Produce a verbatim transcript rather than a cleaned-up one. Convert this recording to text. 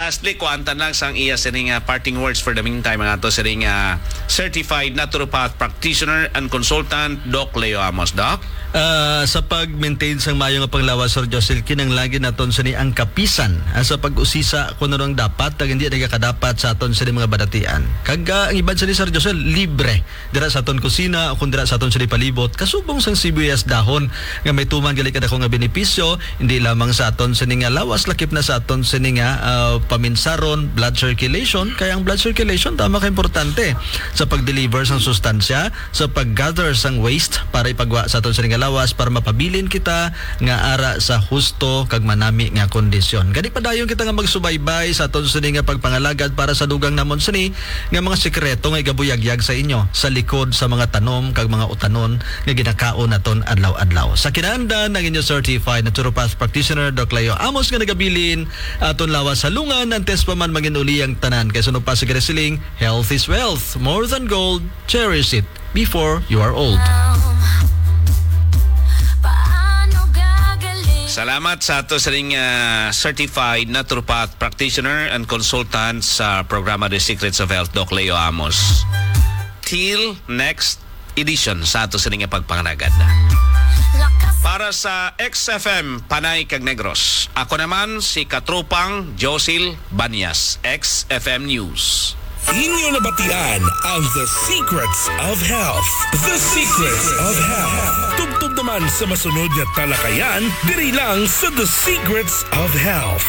Lastly, kuantan lang sang iya sining, ah, parting words for the meantime, ang ato sining, ah, certified naturopath practitioner and consultant, Doc Leo Amos. Doc? Ah, sa pag-maintain sang maayo nga panglawas, Sir Josel, kinahanglan naton sini ang kapisan, ah, sa pag-usisa kung ano ang dapat kag hindi nagakadapat sa aton sini mga balatian. Kag, ah, ang iban sini, Sir Josel, libre dira sa aton kusina o kung dira sa aton sini palibot, kasubong sang sibuyas dahon nga may tuman gali kadako nga benepisyo, hindi lamang sa aton sini nga lawas, lakip na sa aton sini nga, ah, paminsaron, blood circulation. Kaya ang blood circulation tama ka importante sa pag-deliver sang sustansya, sa pag-gather sang waste para ipagwa sa aton sini nga lawas para mapabilin kita nga ara sa husto kag manami nga kondisyon. Gani padayon kita nga magsubaybay sa aton sini nga pagpangalagad para sa dugang namon sini nga mga sikreto nga igabuyagyag sa inyo sa likod sa mga tanom kag mga utanon nga ginakaon naton adlaw-adlaw. Sa kinahanglan, ang inyo certified naturopath practitioner, Doc Leo Amos, nga nagabilin aton lawas sa lungan, antes pa man mangin-uli ang tanan. Kay suno pa sa ginasiling, health is wealth. More than gold, cherish it before you are old. Paano gagaling? Salamat sa ato sining, ah, certified naturopath practitioner and consultant sa programa The Secrets of Health, Doc Leo Amos. Till next edition sa ato sining pagpangalagad. Para sa X F M Panay kag Negros, ako naman si Katropang Josil Banyas, X F M News. Inyo nabatian ang The Secrets of Health. The Secrets of Health. Tubtob naman sa masunod nga talakayan diri lang sa The Secrets of Health.